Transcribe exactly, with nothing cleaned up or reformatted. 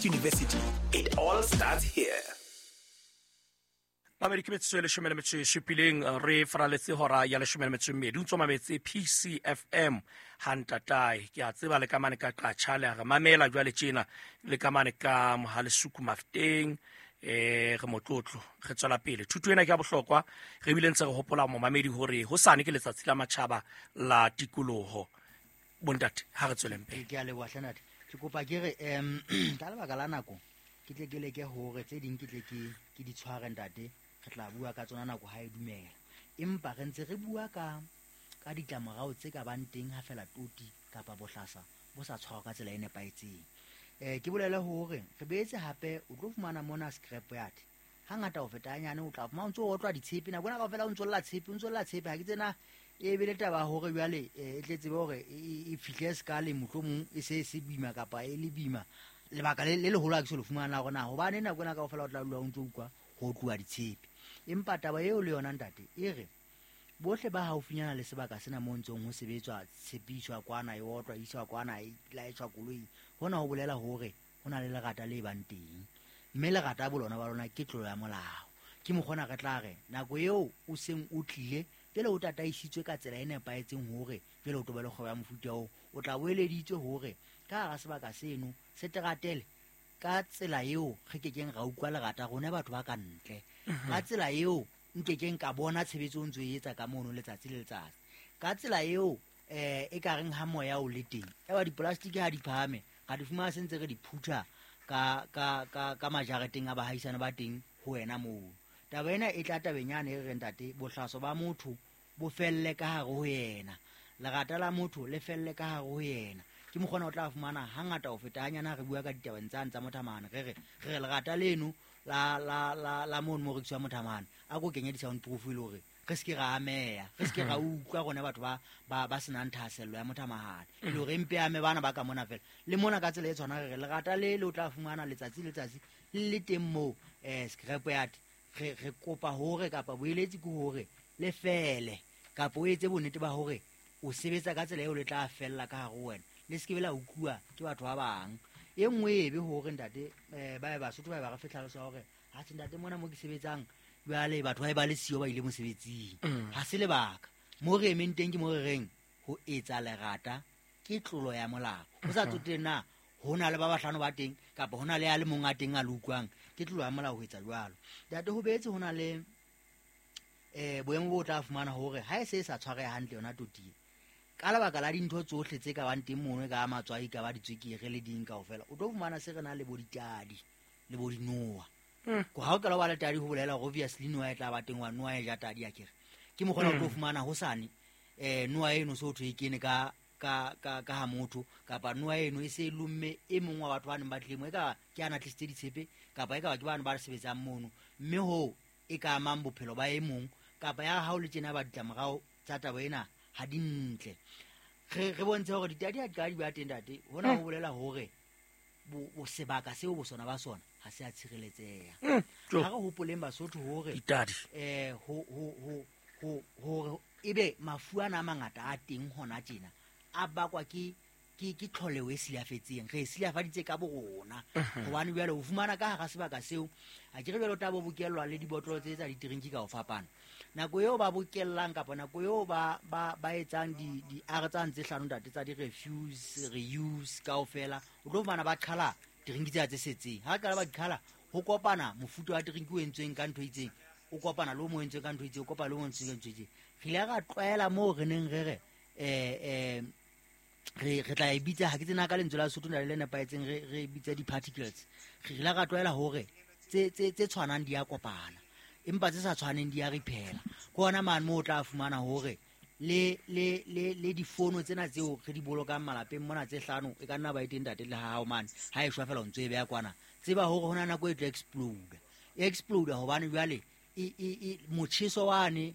Northwest University. It all starts here. Mamedi, ke metsotso e leshome le metso e supileng, re faraletse hora ya leshome le metso e mmedi. O ntso mametse P C F M hantatae. Ke a tseba le ka mane ka Qatjha le a re mamela jwale tjena, le ka mane ka Mohalesuku Mafteng. eh re motlotlo re tswela pele. Thuto ena ke ya bohlokwa. Re bile ntse re hopola momamedi hore hosane ke letsatsi la matjhaba la tikoloho. Bontate, ha re tsweleng pele. Ke a leboha hlenate. Ke kopa ke re um ka lebaka la nako ke tle ke leke hore tse ding ke tle ke ke di tshware, ntate. Re tla bua ka tsona nako ha e dumela, empa re ntse re bua ka ka ditlamorao tse ka bang teng ha fela toti kapa bohlasa bo sa tshwarwa ka tsela e nepahetseng. um ke bolele hore re beetse hape o tlo fumana mona scrap yard hangata ho feta hanyane. O tla fumana o ntso o otlwa ditshepe nako ena kaofela, o ntso lla tshepe, o ntso lla tshepe. Ha ke tsena e be le taba ya hore jwale eh, e tle tsebe hore e e- e fihle sekale, mohlomong e se e se boima kapa e le boima. Lebaka le le leholo ha ke so le fumana la hore na hobane nako ena kaofela o tla dula o ntso utlwa ho otluwa ditshepe. Empa taba eo le yona, ntate, e re bohle ba haufinyana le sebaka sena mo ntsong ho sebetswa, tshepiswa kwana, e otlwa, e iswa kwana, e laetjwa koloi, hona ho bolela hore ho na le lerata le bang teng, mme lerata bolona ba lona ke tlolo ya molao. Ke mokgona re tla re nako eo o seng o tlile jwale o tataisitswe ka tsela e nepahetseng hore jwale o tobe le kgwebo ya mofuta oo, o tla boeleditswe hore ka hara sebaka seno se teratele ka tsela eo re kekeng ra utlwa lerata rona batho ba ka ntle, ka tsela eo nkekeng ka bona tshebetso o ntso e etsa ka mono letsatsi le letsatsi, ka tsela eo um e ka reng ha moya o le teng eba dipolastiki ha di phahame, ra di fumana se ntse re di phutha ka ka ka ka majareteng a bahaisane ba teng ho wena moo. Taba ena e tla tabeng yane e re reng, ntate, bohlaso ba motho bo felle ka hare ho yena, lerata la motho le felle ka hare ho yena. Ke mokgona o tla fumana hangata ho feta hanyane ha re bua ka ditabeng tsane tsa mothamane, re re re re lerata leno la la la la mono mo rekisiwa mothamane, a ko kenye di-sound proof e le hore re se ke ra ameya, re se ke ra utlwa rona batho ba ba ba senang thahasello ya mothamahane, e le hore empe ame bana ba ka mona fela le mona. Ka tsela e tshwana re re lerata le le o tla fumana letsatsi le letsatsi le le teng moo um scrap yard, re re kopa hore kapa boeletsi ke hore le fele kapa o etse bonnete ba hore o sebetsa ka tsela eo le tla fella ka hare ho wena, le se ke be la utluwa ke batho ba bang. E nngwe e be hore, ntate, um ba e Basotho ba e ba re fe tlhaloso ya hore ha se, ntate, mona mo ke sebetsang jwale batho ba e ba le siyo, ba ile mosebetsing, ha se lebaka. Mo re emeng teng ke mo re reng ho etsa lerata ke tlolo ya molao, ho sa tsotelle na ho na le ba bahlano ba teng kapa ho na le a le mong a teng a le utlwang. Ke tlolo ya molao ho etsa jwalo, ntate. Ho beetse ho na le um boemo bo o tla fumana hore ha e se e sa tshwareha hantle yona totie, ka lebaka la dintho tsohle tse ka bang teng mono, e ka matswai, ka ba ditswekere le ding kaofela, o tlo fumana se re na le bo ditadi le bo dinoa. Ko ha o qala wa le tadi, ho bolela hore obviously noa e tla ba teng, wa noa e ja tadi akere. Ke mokgona o tlo fumana hosane um noa eno se ho thwe e kene ka ka ka ka ha motho, kapa noa eno e se e lomme e mong wa batho ba neng ba tlile mo, e ka ke ana tlisitse ditshepe, kapa e ka ba ke bane ba sebetsang mono, mme hoo e ka amang bophelo ba e mong kapa ya hao le tjena. Ba ditlamorao tsa taba ena ha di ntle. re re bontshe hore ditadi ha di ka di ba teng, ntate, hona ho bolela hore bo bo sebaka seo bo sona ba sona ha se a tshireletseha. Jo. Ha re hopoleng, Basotho, hore Ditadi. eh ho ho ho ho hore ebe mafu ana a mangata a teng hona tjena a bakwa ke ke ke tlholeho e silafetseng, re e silafaditse ka borona, hobane jwale o fumana ka hara sebaka seo a ke re jwale o tla bo bokellwa le dibotlolo tse tsa ditrinki ka ho fapana. Nako eo ba bokellang kapa nako eo ba ba ba etsang di di r tsane tse hlano, ntate, tsa di-refuse, reuse kaofela, o tlo fumana ba qhala drinki tsena tse setseng. Ha qala ba di qhala, ho kopana mofuta wa drinki o entsweng ka ntho e itseng, o kopana le o mo entsweng ka ntho e itseng, o kopana le o mo entsweng ka ntho e itseng. Re ile ra tlwaela moo re neng re re um um re re tla e bitsa, ha ke tsena ka lentswe la Sesotho na le le nepahetseng, re re bitsa di-particles. Re ile ra tlwaela hore tse tse tse tshwanang di a kopana, empa tse sa tshwaneng di a riphela. Ke hona mane moo o tla fumana hore le le le le difono tsena tseo re di bolokang malapeng mona tse hlano, e ka nna ba e teng, ntate, le ha hao mane, ha e shwa fela o ntso e beha kwana, tseba hore ho na nako e tlo explode, e explode hobane jwale e e e motjheso wane.